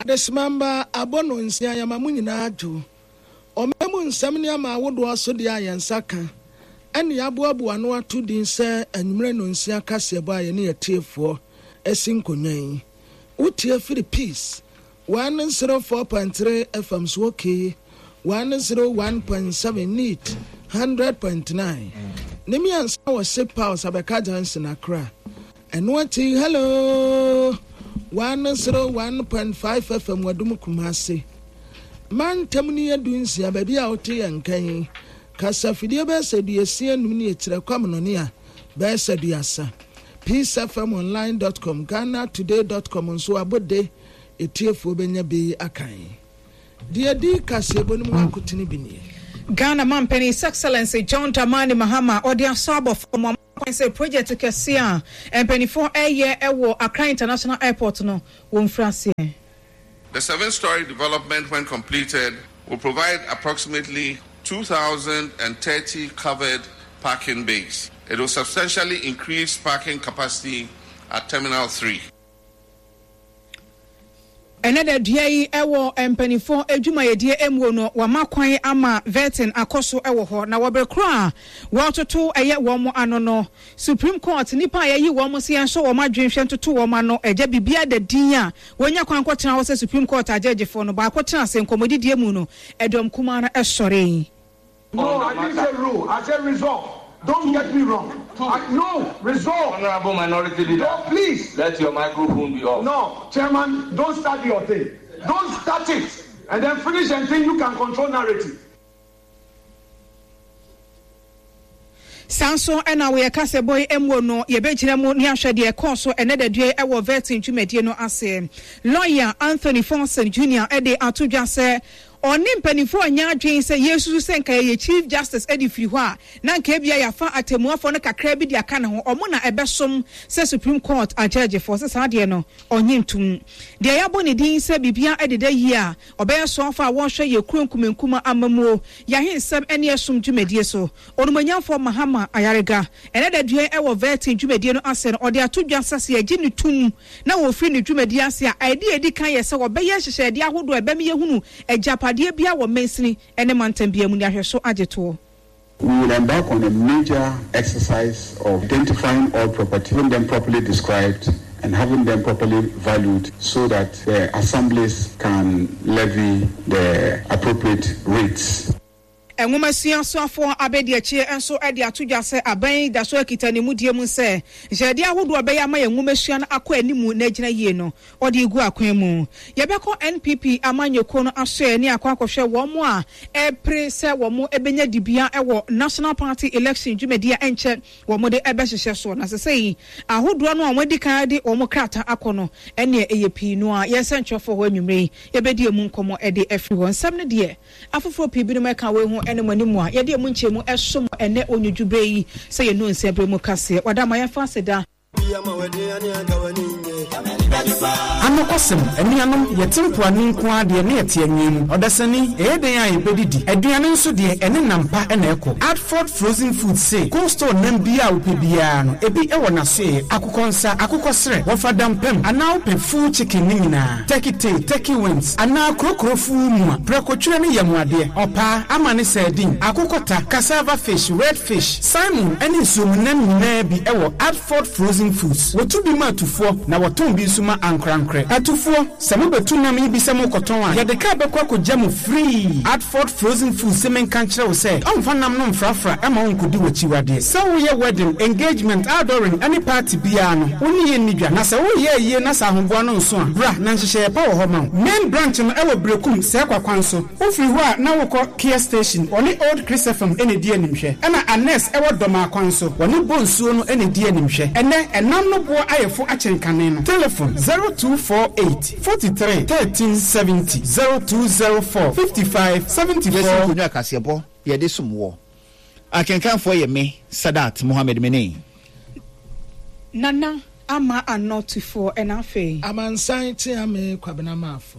Adesemamba abɔ no nsia yɛma mo nyinaa dwo. Ɔman mu nsɛm ne ama ahodoɔ so deɛ a yɛn nsa ka ɛne yɛaboaboa ano ato din sɛ anwummerɛ nnɔnsia kaseɛbɔ a yɛne atiefoɔ asi nkonnwa yi. Wotie firi Peace 104.3 FM so okay 101.7 Neat 100.9 ne mmiɛnsa wɔ Ship House Abɛka Junction Accra. Ɛno akyi Hello 101.5 FM Wadum Kumasi. Mantam no yɛ dunsia baabi a wote yɛn nka yi. Kasafidie bɛyɛ sɛ duasia num ne akyirɛ kwamnɔne a bɛyɛ sɛ duasa. Peacefmonline.com, GhanaToday.com nso abɔde etiefoɔ bɛnya bi akan. Deɛ ɛdi kaseɛbɔ no mu akotene bi nie. Ghana Mampanin His Excellency John Dramani Mahama ɔde asɔ abɔ fam ama kwan sɛ project kɛseɛ a mpaninfoɔ reyɛ wɔ Accra International Airport no wɔmfiri aseɛ. The seven-story development, when completed, will provide approximately 2,030 covered parking bays. It will substantially increase parking capacity at Terminal 3. Ɛnnɛ da dua yi wɔ mpaninfoɔ adwumayɛdie muo no wɔama kwan ama vetting akɔ so wɔ hɔ na wɔ bere korɔ a wɔretoto ɛyɛ wɔn ano no Supreme Court nnipa a yɛayi wɔn sɛ yɛnsɔ wɔn adwene nhwɛ ntoto wɔn ano agya biribiara da din a wɔnya kwan kɔtena hɔ sɛ Supreme Court agyɛgyefoɔ no baako tena ase nkɔmmɔdidie mu no ɛdɔm kumaa no sɔree. No, I didn't say rule. I said resolve. Don't get me wrong. I, no, resolve. Honorable Minority Leader. No, please. Let your microphone be off. No, Chairman, don't start your thing. Don't start it and then finish and think you can control narrative. Saa nso na wɔ yɛn kasɛbɔ yi mu no, yɛbɛgyina mu ne ahwɛ deɛ ɛkɔɔ so ɛnnɛ dadua yi wɔ vetting dwumadie no ase. Lɔya Anthony Forson Junior de ato dwa sɛ ɔne mpanimfoɔ nyɛ adwene sɛ yɛresusu sɛ nka yɛyɛ Chief Justice de firi hɔ a, na nka ebia yɛafa atɛmmuafoɔ no kakra bi de aka ne ho, wɔn na ɛbɛsom sɛ Supreme Court agyɛɛgyefoɔ, sɛ saa deɛ no ɔnnye ntom. Deɛ yɛabɔ ne din sɛ biribiara deda yie a, ɔbɛyɛ soafoɔ a wɔrehwɛ yɛn kuro nkumankuma amammuo, yɛn ahensɛm ne ɛsom dwumadie so. Onumonyamfoɔ Mahama Ayariga, ɛnnɛ da dua yi wɔ Vetting dwumadie no ase no, ɔde ato dwa sɛ sɛ yɛgye no tom na wɔfiri ne dwumadie ase a, adeɛ a ɛdi kan yɛ sɛ wɔbɛyɛ nhyehyɛedeɛ ahodoɔ a ɛbɛma yɛahunu agyapadeɛ biara wɔ mansini ne mantam biara mu ne ahwɛ so agye toɔ. We will embark on a major exercise of identifying all property, having them properly described and having them properly valued so that the assemblies can levy the appropriate rates. Nwomasua soafoɔ Abediakyie nso de ato dwa sɛ aban yi da so kita ne mudie mu sɛ nhyehyɛdeɛ ahodoɔ a ɛbɛyɛ ama yɛn nwomasua no akɔ anim na agyina yie no, ɔde regu akwan mu. Yɛbɛkɔ NPP amanyɔkuo no asoɛeɛ ne akɔ akɔhwɛ wɔn a ɛrepere sɛ wɔbɛnya dibea wɔ National Party Election dwumadie a ɛnkyɛ wɔde bɛhyehyɛ soɔ. Na sesei ahodoɔ no a wɔadi kan de wɔn krataa akɔ no, ɛnneɛ ɛyɛ pii no ara. Yɛn sɛnkyerɛfoɔ hɔ anwummerɛ yi, yɛbɛdi ɛmu nkɔmmɔ de afiri hɔ. Nsɛm no deɛ. Afoforɔ pii binom ɛka wei ho ne mo anim a yɛde ɛmu nkyɛmu som mo ɛnnɛ onwodwo berɛ yi sɛ yɛnu nsɛ berɛ mu kaseɛ. Wada ma yɛmfa aseda. Anokwasɛm, anuanom, yɛte mpoano nko ara deɛ, na yɛte anwea mu. Ɔdasani, ɛyɛ dɛn a yɛbɛdidi? Aduane nso deɛ, ɛne nam pa na ɛkɔ. Adford Frozen Foods se, cold store nam biara a wopɛ biara no, ebi wɔ n'asoɛeɛ, akokɔ nsa, akokɔ serɛ, wɔfa dampam, anaa wopɛ full chicken no nyinaa. Turkey tail, turkey wings, anaa krokro full mua, prɛkotwerɛ ne yamuadeɛ, ɔpaa, amane sardine, akokɔta, cassava fish, red fish, salmon ne nsuomunam nyinaa bi wɔ Adford Frozen Foods. Wɔtu bi ma atufoɔ na wɔtɔn bi nso ma ankorankorɛ. Atufoɔ, sɛ mobɛtu nam yi bi sɛ morekɔtɔn a, yɛde kaa bɛkɔ akɔgya mo free. Adford Frozen Foods se menka nkyerɛ wo sɛ ɔmfa nam no mfrafra mma wo nkɔdi w'akyiwadeɛ. Sɛ woyɛ wedding, engagement, outdooring ne party biara no, wo ne yɛn nni dwa. Na sɛ woreyɛ ayie na sɛ ahoboa no nso a, bra na nhyehyɛeɛ pa wɔ hɔ ma wo. Main branch no wɔ Berekum, Sɛɛkwa kwan so. Wofiri hɔ a na wokɔ Kia Station, wɔne Old Chris FM na ɛdi animhwɛ. Ɛna Annex wɔ Dɔmaa kwan so, wɔne Bonsuo no na ɛdi animhwɛ. Ɛnnɛ, ɛnam no boɔ ayɛ fo akyɛn kane no. Telefon, 0248 43 13 70, 0204 55 Yɛsi 74. nkonnwa kaseɛbɔ yɛde som woɔ. Akenkanfoɔ yɛ me, Sadat Mohammed Mene. Nana Ama Anɔ Tufoɔ ɛna afei. Amansan Kyeame Kwabena Marfo.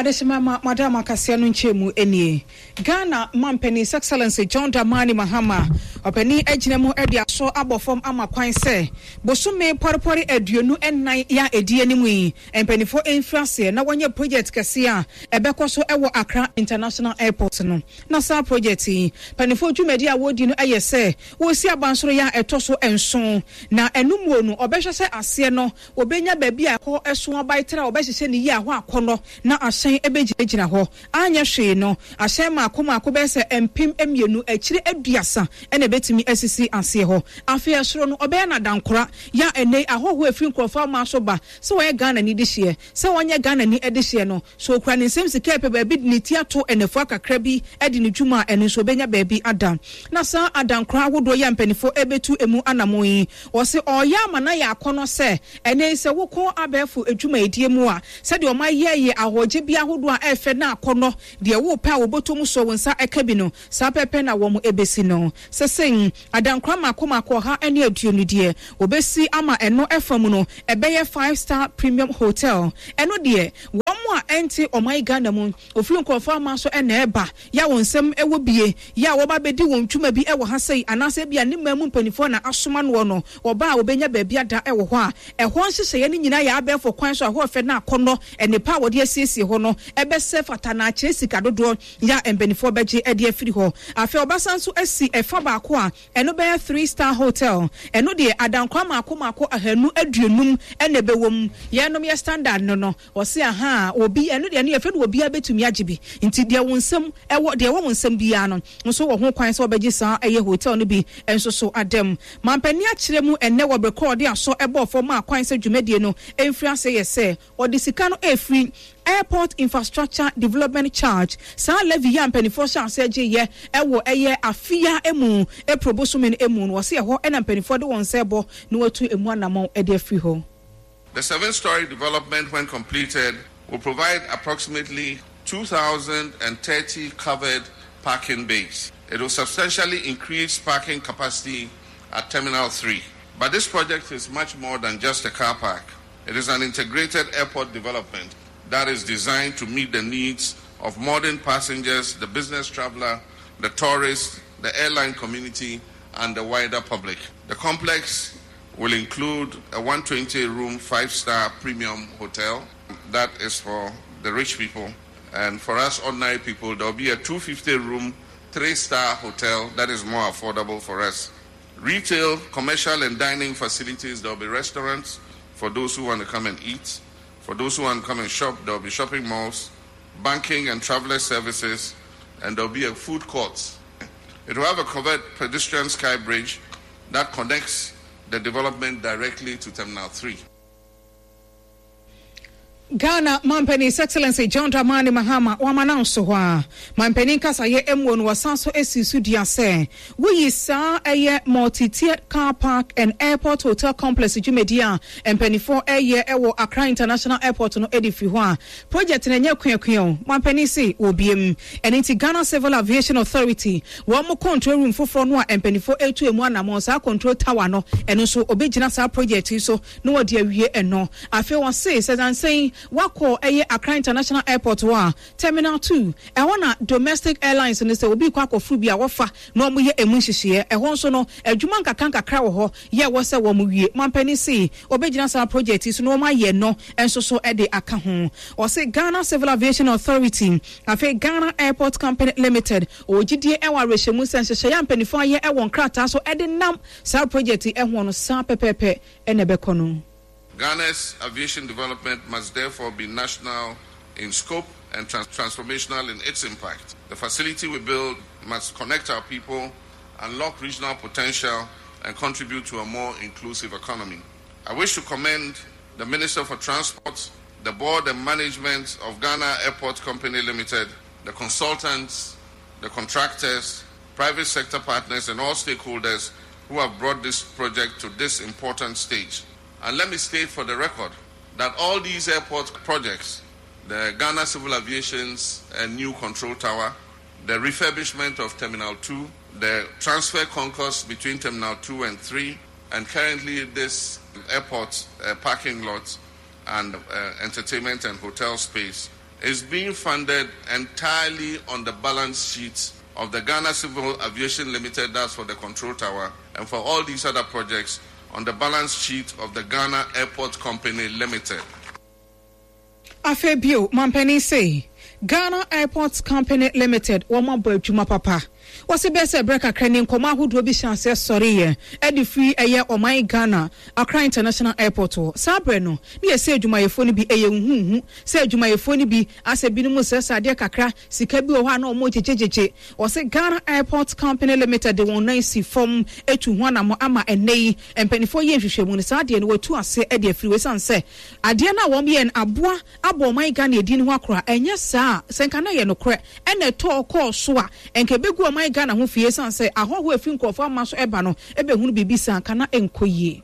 Adehyema ma madam akaseɛ no nkyɛmu nie. Ghana manpanin His Excellency John Dramani Mahama ɔpanin agyina mu de asɔ abɔ fam ama kwan sɛ bosome pɔrepɔre 24 yi a ɛdi anim yi mpaninfoɔ mfiri aseɛ na wɔnyɛ project kɛseɛ a ɛbɛkɔ so wɔ Accra International Airport no. Na saa project yi mpaninfoɔ dwumadie a wɔredi no yɛ sɛ wɔresi abansoro yi a ɛtɔ so nson na ɛno muo no wɔbɛhwɛ sɛ aseɛ no Wɔbɛnya baabi a ɛhɔ so abae tra a wɔbɛhyehyɛ no yie a ɛhɔ akɔnnɔ na ahyɛn bɛgyinagyina hɔ. Anyɛ hwee no, ahyɛn mmaako mmaako bɛyɛ sɛ 2000 akyire 30 na ɛbɛtumi asisi aseɛ hɔ. Afei ɛsoro no, wɔbɛyɛ no adankora. Yɛ a ɛnnɛ yi ahɔhoɔ a ɛfiri nkurɔfoɔ aman so ba, sɛ wɔyɛ Ghanani dehyeɛ, sɛ wɔnyɛ Ghanani dehyeɛ no, sɛ ɔkura ne nsam sika a ɛpɛ baabi de ne ti ato nnafua kakra bi de ne dwuma a, ɛno nso ɔbɛnya baabi ada. Na saa adankora ahodoɔ yi a mpanimfoɔ rebɛtu emu anammɔn yi, Ɔse ɔɔyɛ ama no ayɛ akɔnɔ sɛ ɛnɛ yi sɛ wokɔ abɛɛfo adwumayɛdie mu a, sɛdeɛ ɔmo ayɛ yɛ ahɔɔgye bi ahodoɔ a ɛɛfɛ na akɔnɔ, deɛ woopɛ a wɔbɔtɔ mu sɔ wo nsa ɛka bi no, saa pɛpɛ na wɔn ɛbɛsi no. Sesei, adankora mako mako 120 deɛ wɔbɛsi ama ɛno ɛfa mu no ɛbɛyɛ five star premium hotel. Ɛno deɛ, wɔn a ɛnte ɔman Ghana mu, wɔfiri nkorɔfoɔ aman so na ɛɛba, yɛ a wɔn nsam wɔ bie, yɛ a wɔba abɛdi wɔn dwuma bi wɔ ha sei, anaasɛ ebia ne man mu mpanimfoɔ na asoma noɔ no, wɔba a wɔbɛnya baabi ada wɔ hɔ a, ɛhɔ nhyehyɛeɛ no nyinaa yɛ abɛɛfo kwan so a ɛhɔ fɛ na akɔnnɔ, nnepa a wɔde asiesie hɔ no bɛsɛ fata na akyerɛ sika dodoɔ yɛ a mpanimfoɔ bɛgye de afiri hɔ. Afei wɔbɛsan nso asi ɛfa baako a ɛno bɛyɛ three star hotel, ɛno deɛ adankora mmaako mmaako 250 na ɛbɛwɔ mu, yɛnom yɛ standard no no, Ɔse ahaa obi ɛno deɛ ɛno yɛfrɛ no obiara bɛtumi agye bi nti deɛ wo nsam ɛwɔ deɛ ɛwɔ wo nsam biara no nso wɔ ho kwan sɛ ɔbɛgye saa ɛyɛ hotel no bi nso so adam. Mampanin akyerɛ mu ɛnnɛ wɔ bere korɔ ɔde asɔ ɛbɔɔ fam maa kwan sɛ dwumadie no mfiri aseɛ yɛ sɛ ɔde sika no ɛrefiri Airport Infrastructure Development Charge saa levy yi a mpaninfoɔ hyɛ aseɛ gyeeɛ ɛwɔ ɛyɛ afe yi ara mu April bosome no mu no ɔse ɛhɔ ɛna mpaninfoɔ de wɔn nsa ɛbɔ na wɔatu ɛmu anamɔn de afiri hɔ. The seven story development, when completed, will provide approximately 2,030 covered parking bays. It will substantially increase parking capacity at Terminal 3. But this project is much more than just a car park. It is an integrated airport development that is designed to meet the needs of modern passengers, the business traveler, the tourist, the airline community, and the wider public. The complex will include a 120 room, five star premium hotel. That is for the rich people. And for us ordinary people, there will be a 250 room, three star hotel that is more affordable for us. Retail, commercial, and dining facilities, there will be restaurants for those who want to come and eat. For those who want to come and shop, there will be shopping malls, banking and traveler services, and there will be a food court. It will have a covered pedestrian sky bridge that connects the development directly to Terminal 3. Ghana Mampanin His Excellency John Dramani Mahama wama no nso hɔ a mampanin kasayɛ mmuo no wɔsan so asi so dua sɛ woyi saa ɛyɛ multi-tiered car park and airport hotel complex dwumadi a mpanimfoɔ ɛyɛ ɛwɔ Accra International Airport no de firi hɔ a project no ɛnyɛ kuakua o mampanin se wɔbiem ɛno nti Ghana Civil Aviation Authority wɔn mo control room foforɔ no a mpanimfoɔ ɛretu emu anamɔn saa control tower no ɛno nso ɔbɛgyina saa project yi so na wɔde awie ɛno. Afei ɔse sɛ nansa yi wakɔ ɛyɛ Accra International Airport hɔ a, Terminal 2, ɛhɔ na domestic airlines no sɛ obi rekɔ akɔforo bi a wɔfa na wɔyɛ ɛmu nhyehyeɛ. Ɛhɔ nso no adwuma nkakra nkakra wɔ hɔ yɛ ɛwɔ sɛ wɔn wie. Mampanin se ɔbɛgyina saa project yi so na wɔn ayɛ no nso so de aka ho. Ɔse Ghana Civil Aviation Authority, afei Ghana Airport Company Limited, ɔwɔ gyidie wɔ awerɛhyɛmu sɛ nhyehyɛeɛ a mpaninfoɔ ayɛ wɔ nkrataa so de nam saa project yi ho no saa pɛpɛɛpɛ na ɛbɛkɔ no. Ghana's aviation development must therefore be national in scope and transformational in its impact. The facility we build must connect our people, unlock regional potential, and contribute to a more inclusive economy. I wish to commend the Minister for Transport, the board and management of Ghana Airport Company Limited, the consultants, the contractors, private sector partners, and all stakeholders who have brought this project to this important stage. And let me state for the record that all these airport projects, the Ghana Civil Aviation's new control tower, the refurbishment of Terminal 2, the transfer concourse between Terminal 2 and 3, and currently this airport uh, parking lot and uh, entertainment and hotel space. is being funded entirely on the balance sheet of the Ghana Civil Aviation Limited, that's for the control tower, and for all these other projects on the balance sheet of the Ghana Airport Company Limited. Afei bio, mampanin se, Ghana Airports Company Limited wɔn abɔ adwuma papa. Wɔse bɛyɛ sɛ berɛ kakra ni nkɔmmɔ ahodoɔ bi hyɛɛ aseɛ sɔreeɛ de firi ɛyɛ ɔman Ghana Accra International Airport hɔ. Saa berɛ no, na yɛse adwumayɛfoɔ no bi ɛyɛ nhuuhu sɛ adwumayɛfoɔ no bi asɛ binom resrɛsrɛ adeɛ kakra, sika bi wɔ hɔ a na wɔregyegyegyegye. Wɔse Ghana Airports Company Limited de wɔn nan si fam tu ho anammɔn ama ɛnnɛ yi mpanimfoɔ yɛ nhwehwɛmu no, saa adeɛ no wɔatu aseɛ de afiri hɔ ɛsiane sɛ adeɛ no a wɔyɛɛ no aboa abɔ ɔman Ghana edin ho akora, ɛnyɛ saa a, sɛ nka na ɛyɛ nokorɛ ɛna ɛtɔɔ kɔɔ so a, nka ɛbɛgu ɔman Ghana ho fi ɛsiane sɛ ahɔhoɔ a ɛfiri nkorɔfoɔ ama so ɛba no bɛhunu biribi saa a, nka na ɛnkɔ yie.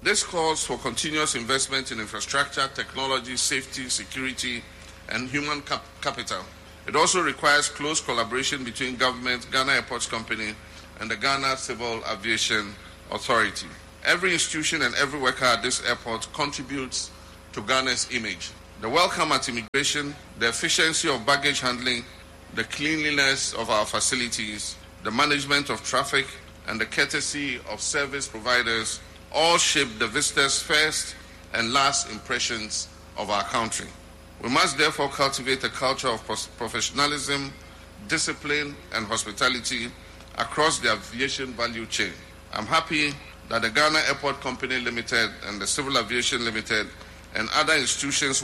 This calls for continuous investment in infrastructure, technology, safety, security, and human cap capital. It also requires close collaboration between government, Ghana Airports Company, and the Ghana Civil Aviation Authority. Every institution and every worker at this airport contributes to Ghana's image. The welcome at immigration, the efficiency of baggage handling, the cleanliness of our facilities, the management of traffic, and the courtesy of service providers all shape the visitors' first and last impressions of our country. We must therefore cultivate a culture of professionalism, discipline, and hospitality across the aviation value chain. I'm happy that the Ghana Airport Company Limited and the Civil Aviation Limited and other institutions.